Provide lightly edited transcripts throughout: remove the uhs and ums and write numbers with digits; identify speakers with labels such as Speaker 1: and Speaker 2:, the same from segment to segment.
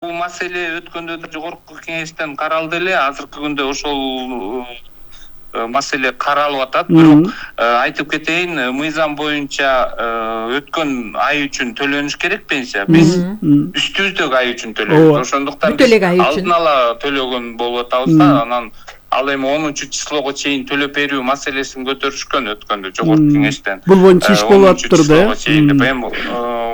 Speaker 1: Бул маселе өткөндө да жогорку кеңештен каралды эле. Азыркы күндө ошол маселе каралып атат. Бирок айтып кетейин, мыйзам боюнча өткөн ай үчүн төлөнүш керек пенсия. Биз үстүбүздөгү ай үчүн төлөйбүз. Ошондуктан биз алдын ала төлөгөн болуп атабыз да, анан ал эми 10 числого чейин төлөп берүү маселесин көтөрүшкөн өткөндө жогорку кеңештен.
Speaker 2: Бул боюнча иш болуп атыптыр да.
Speaker 1: Эми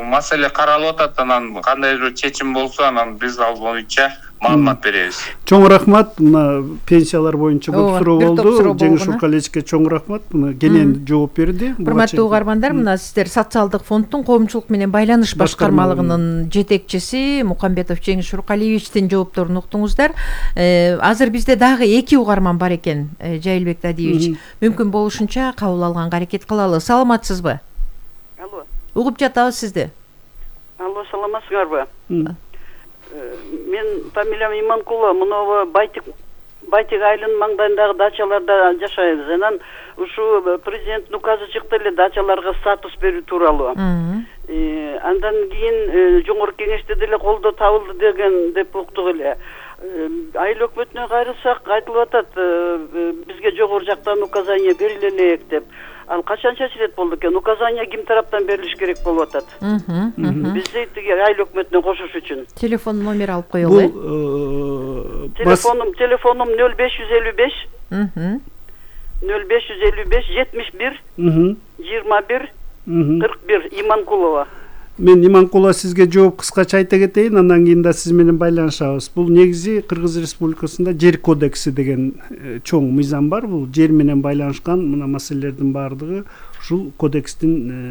Speaker 1: маселе каралып атат, анан кандайдыр чечим болсо, анан биз ал боюнча маалымат беребиз.
Speaker 2: Чоң рахмат. Мына пенсиялар боюнча көп суроо болду. Жеңиш Уркалиевичке чоң рахмат. Мына кенен жооп берди.
Speaker 3: Урматтуу угармандар, мына сиздер Социалдык фонддун коомчулук менен байланыш башкармалыгынын жетекчиси Мукамбетов Жеңиш Уркалиевичтин жоопторун уктуңуздар. Азыр бизде дагы 2 угарман бар экен, Жайылбек Дадиевич. Мүмкүн болушунча кабыл алганга аракет кылалы. Саламатсызбы?
Speaker 4: Алло.
Speaker 3: Угуп жатабыз сизди.
Speaker 4: Алло, саламатсыңарбы? Мен фамилиям Иманкулова, мынабу Байтик айылынын маңдайындагы дачаларда жашайбыз. Анан ушу президенттин указы чыкты эле дачаларга статус берүү тууралуу. Андан кийин жогорку кеңеште деле колдоо табылды деп уктук эле. Айыл өкмөтүнө кайрылсак айтылып атат, бизге жогору жактан указание бериле элек деп. Ал качан чечилет болду экен? Указание ким тараптан берилиш керек болуп атат? Бизди тиги айыл өкмөтүнө кошуш үчүн.
Speaker 3: Телефон номер алып коелу.
Speaker 4: Телефонум 0555 0555 71 21 41 Иманкулова.
Speaker 2: Мен Иманкулова сизге жооп кыскача айта кетейин, андан кийин да сиз менен байланышабыз. Бул негизи Кыргыз Республикасында жер кодекси деген чоң мыйзам бар. Бул жер менен байланышкан мына маселелердин баардыгы ушул кодекстин